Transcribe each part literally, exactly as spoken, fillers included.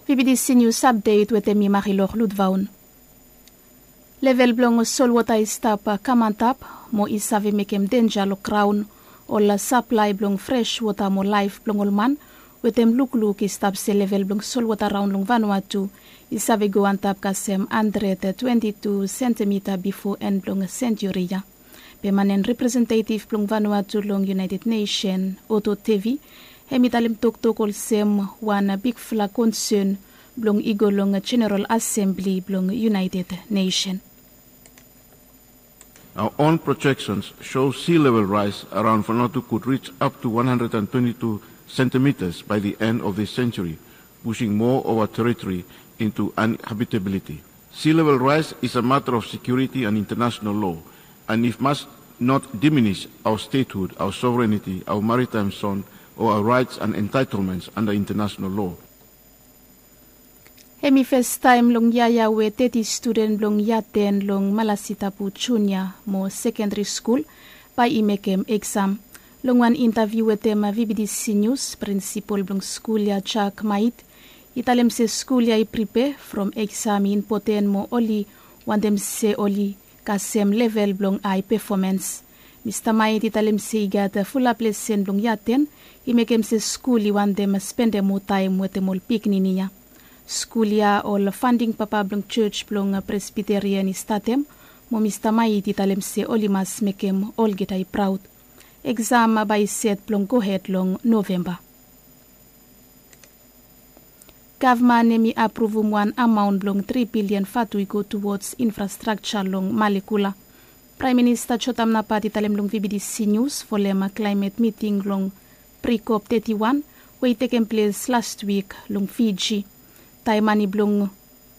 Bibidi sinius apdet wetem mi marilor ludvaon. Level blong solwota i stap kam antap mo i save mekem denja long graon, ol saplae blong fres wota mo laef blong ol man wetem lukluk i stap se level blong solwota raon long vanua tu i save go antap kasem handred twenti tu sentimita bifo en blong senturi ya. Be man en representetiv blong vanua tu long iunaeted nesen, oto tevi, hem i talem toktok olsem wan bigfala konsen blong i go long jeneral asembli blong iunaeted nesen. Our own projections show sea level rise around Vanuatu could reach up to one hundred and twenty-two centimeters by the end of this century, pushing more of our territory into uninhabitability. Sea level rise is a matter of security and international law, and it must not diminish our statehood, our sovereignty, our maritime zone, or our rights and entitlements under international law. Hem i fes taem long yia ya we teti studen blong yia ten long Malasitapu Junia mo Sekendri Skul bae i mekem eksam. Long wan intaviu wetem VBTC Nius, prinsipol blong skul ya, Jack Mait, i talem se skul ya i pripe from eksam i impoten mo oli wantem se oli kasem level blong ae pefomans. Mista Mait i talem se i gat fulap lesen blong yia ten i mekem se skul i wantem spendem moa taem wetem ol pikinini ya. Skul ya ol fanding papa blong jos blong Presbiterian i statem, mo Mista Mait i talem se oli mas mekem olgeta i praod. Eksam bae i set blong gohed long Novemba. Gavman hem i apruvum wan amaon blong tri bilian vatu i go tuwods infrastrakja long Malekula. Praem Minista Jotam Napat i talem long VBTC Nius folem klaemet miting long Pre-COP teti wan we i tekem ples lastwik long Fiji. Taem mane blong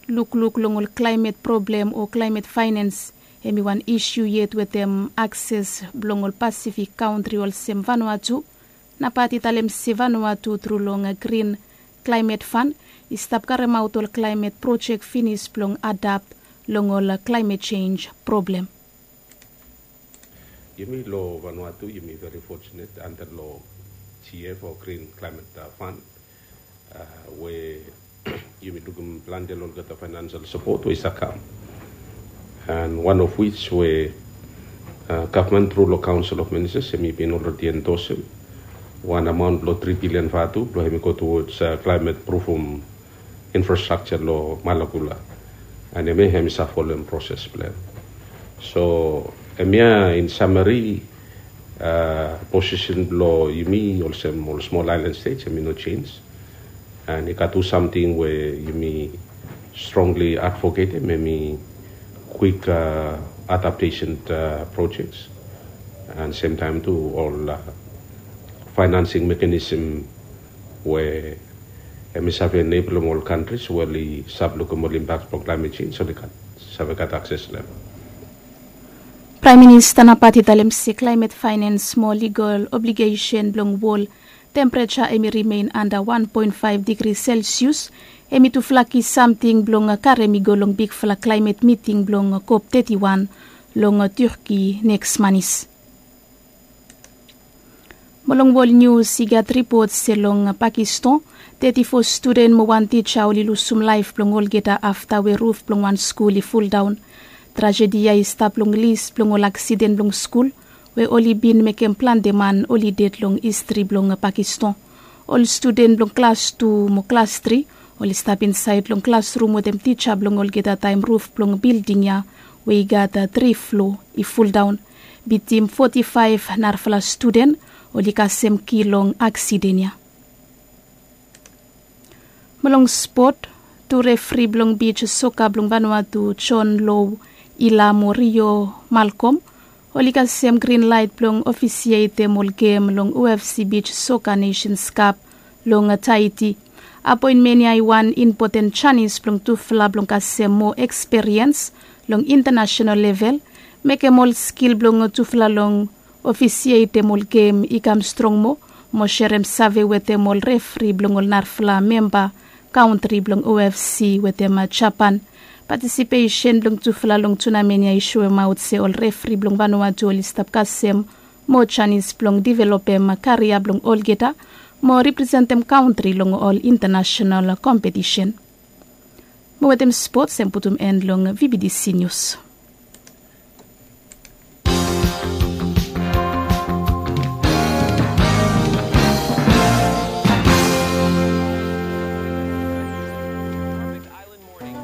lukluk long ol klaemet problem o klaemet faenans hem i wan isiu yet wetem akses blong ol Pasifik kantri olsem Vanuatu. Napat i talem se Vanuatu tru long Grin Klaemet Fan i stap karemaot ol klaemet projek finis blong adapt long ol klaemet jenj problem. Yumi long Vanuatu yumi veri fotsunet anda long GF o Grin Klaemet Fan we yumi lukim plante long olgeta faenansial sapot we i save kam. And one of which we gavman tru long Kaonsel of Ministas hem i bin olredi endosem wan amaon blong tri bilian vatu blong hem i go tuwods klaemet prufum infrastrakja long Malekula. And hemia hem i save folem proses blong hem. So hemia in samari posisen blong yumi olsem ol smol aelan stets hem i no jenj. And i gat tu samting we yumi strongli advoketem hem i kwik adaptesen projeks. And semtaem tu ol faenansing mekanisem we hem i save enebelem ol kantris we oli save lukim ol impaks blong klaemet jenj oli save gat akses long hem. Praem Minista Napat i talem se klaemet faenans mo ligol obligesen blong wol tempereja hem i rimen anda wan poen faef digri Selsius hem i tufala ki samting blong karem i go long bigfala klaemet miting blong COP teti wan long Turki neks manis. Mo long wol nius i gat ripot se long Pakistan teti fo studen mo wan tija oli lusum laef blong olgeta afta we ruf blong wan skul i fuldaon. Trajedi ya i stap long lis blong ol aksiden blong skul we oli bin mekem plante man oli ded long histri blong Pakistan. Ol studen blong klas tu mo klas tri oli stap insaed long klasrum wetem tija blong olgeta taem ruf blong bilding ya we i gat tri flo i fuldaon. Bitim foti faef narafala studen oli kasem kil long aksiden ya. Mo long spot, tu refri blong bij soka blong Vanuatu, John Low Ila mo Rio Malcolm, oli kasem grin laet blong ofisietem ol gem long OFC Bij Soka Nesens Kap long Taiti. Apoenmen ya i wan impoten janis blong tufala blong kasem moa eksperiens long intanasenal level, mekem ol skil blong tufala long ofisietem ol gem i kam strong moa, mo serem save wetem ol refri blong ol narafala memba kantri blong OFC wetem Japan. Patisipesen blong tufala long tunamen ya i soemaot se ol refri blong Vanuatu oli stap kasem moa janis blong developem karia blong olgeta mo representem kantri long ol intanasenal kompetisen. Mo wetem spots em putum en long V B T C News.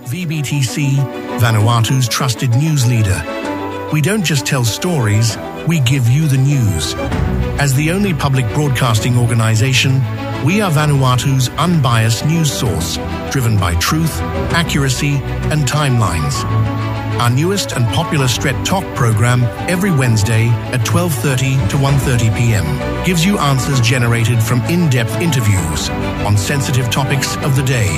V B T C, Vanuatu's trusted news leader. We don't just tell stories, we give you the news. As the only public broadcasting organization, we are Vanuatu's unbiased news source, driven by truth, accuracy, and timelines. Our newest and popular Stret Tok program every Wednesday at twelve thirty to one thirty p m gives you answers generated from in-depth interviews on sensitive topics of the day.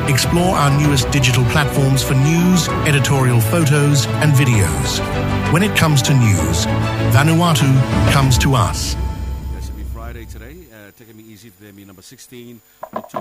Explore our newest digital platforms for news, editorial photos, and videos. When it comes to news, Vanuatu comes to us. Yes, it'll be Friday today. Uh, taking me easy today, me number sixteen. October